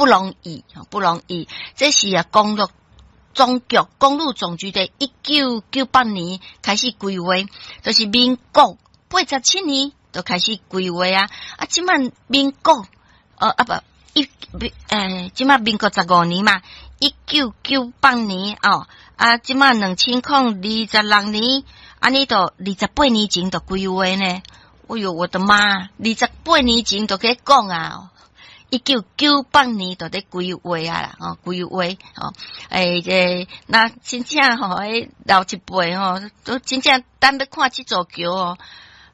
不容易，不容易。這是啊，公路總局公路總局佇1998年開始規劃，就是民國87年就開始規劃啊。啊，這擺民國，啊不，一，這擺民國15年嘛，1998年哦，啊，這擺2026年，按呢就28年前就規劃呢。哎喲，我的媽！二十八年前就去講啊，1998年就佇規劃啊啦，哦，規劃哦，欸，這那真正吼，彼老一輩吼，都真正等欲看這座橋哦，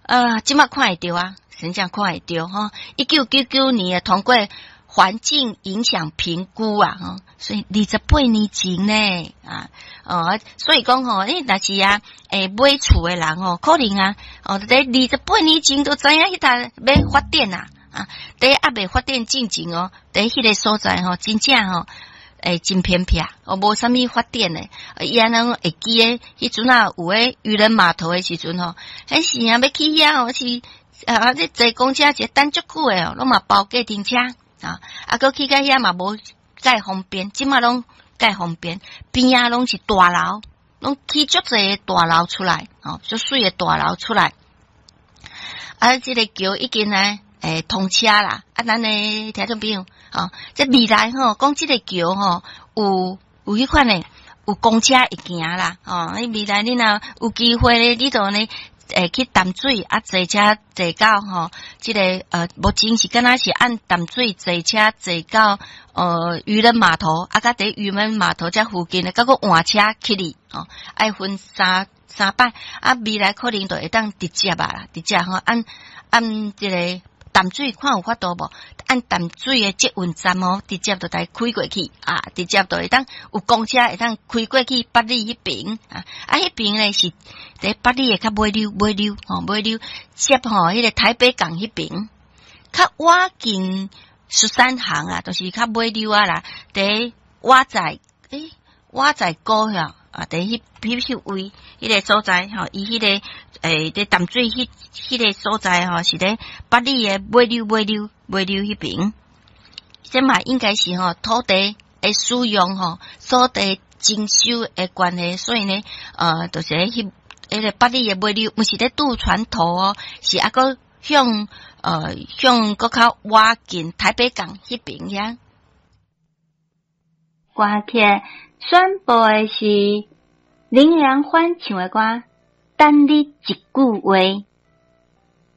啊，這擺看會著啊，真正看會著吼。1999年通過環境影響評估啊，吼，所以二十八年前呢，啊，哦，所以講吼，你若是啊，欸，買厝的人吼，可能啊，哦，佇二十八年前就知影彼搭欲發展啊，啊，佇猶未發展進前哦，佇彼个所在吼，真正吼，欸，真偏僻，哦，無啥物發展的，伊按呢會記得，彼陣啊有彼漁人碼頭的時陣吼，彼時啊欲去遐吼是啊，這坐公車一等足久的哦，攏嘛包計程車啊，啊，閣去到遐嘛無蓋方便，這擺攏蓋方便，邊仔攏是大樓，攏起足濟大樓出來，哦，足媠的大樓出來。啊，這个橋已經呢，欸，通車啦。啊，咱的聽眾朋友，哦，這未來吼，講這个橋吼，有彼款的，有公車會行啦，哦，你未來你若有機會咧，你就呢，會去淡水啊，坐車坐到吼，這个目前是敢若是按淡水坐車坐到漁人碼頭，啊，佮佇漁人碼頭遮附近咧，閣閣換車去哩，哦，愛分三擺，啊，未來可能就會當直接啊啦，直接吼，按按這个淡水看有法度無？按淡水的捷運站哦，直接就來開過去啊，直接就會當有公車會當開過去八里彼爿啊，啊，彼爿咧是佇八里的較尾溜尾溜吼尾溜接吼彼个台北港彼爿，較倚近十三行啊，就是較尾溜啊啦，佇瓦仔欸瓦仔溝遐啊，佇彼位彼个所在吼，伊彼个欸佇淡水彼个所在吼，是佇八里的尾溜尾溜尾溜彼爿，這嘛應該是吼土地的使用吼，土地徵收的關係，所以呢，就是彼个八里的尾溜，毋是佇渡船頭哦，是猶閣向閣較倚近台北港彼爿遐。歌曲選播的是林良歡唱的歌《等你一句話》。